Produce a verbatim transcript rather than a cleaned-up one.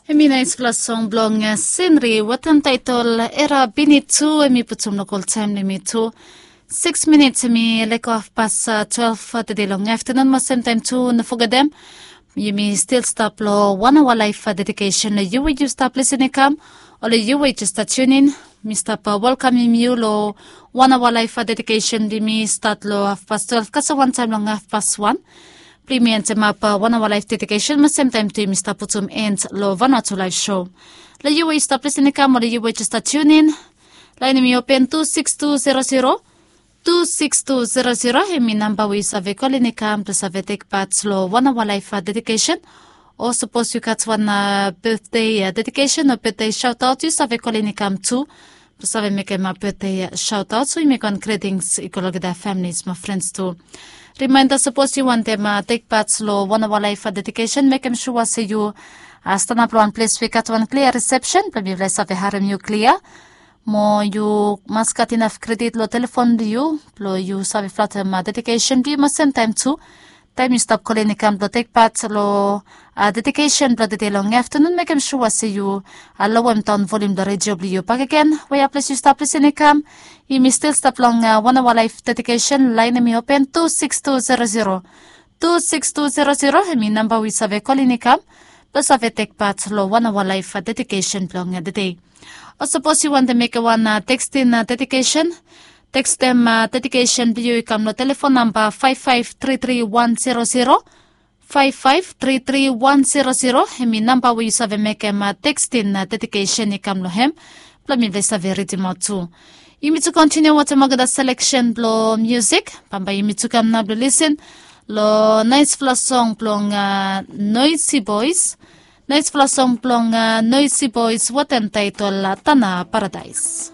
Hemi naispela song blong Senri wetem taitol Era Bini tu, hemi putum long ol taim long yumi tu. Siks minits hemi leko hafpas twelve tede long aftanun, mo semtaim tu no fogetem, yumi stil stap long wan awa laif dedikesen long yu we yu stap lisin i kam, o long yu we yu jes stap tunin. Mi stap welkamim yu long wan awa laif dedikesen blong yumi stat long hafpas twelve kasem wantaim long hafpas wan. Blong yumi entemap wan awa laif dedikesen, mo semtaim tu yumi stap putum en long Vanuatu Laif Show. Long yu we yu stap lisin i kam, o long yu we jes stap tunin, lain hemi open tu siks tu zero zero, tu siks tu zero zero, hemi namba we yu save kolin i kam blong save tek pat long wan awa laif dedikesen. O sapos yu gat wan betde dedikesen o betde saotaot, yu save kolin i kam tu blong save mekem betde saotaot, so yu mekem wan gritings i go long olgeta familis mo frens tu. Rimainda, sapos yu wantem tek pat long wan awa laif dedikesen, mekem sua se yu stanap long wan ples we i gat wan klia risepsen blong mifala i save harem yu klia. Mo yu mas gat inaf kredit long telefon blong yu blong yu save flatem dedikesen blong yu, mo semtaim tu taim yu stap kolin i kam blong tek pat long dedikesen blong tede long aftanun, mekem sua se yu lowem daon volium blong redio blong yu bakegen. Wea ples yu stap lisin i kam, yumi stil stap long wan awa laif dedikesen. Lain hemi open tu siks tu zero zero, tu siks tu zero zero, hemi namba we yu save kolin i kam blong save tek pat long wan awa laif dedikesen blong tede. O sapos yu wantem mekem wan tekstin dedikesen, tekstem dedikesen blong yu i kam long telefon namba faif faif tri tri wan zero zero, faif faif tri tri wan zero zero, hemi namba we yu save mekem tekstin dedikesen i kam long hem blong mifala i save ridimaot tu. Yumi tu kontiniu wetem olgeta seleksen blong musik. Bambae yumi tu kam nao blong lisin long naispela song blong Noisy Boys. Naispela song blong Noisy Boys wetem taitol Tana Paradais.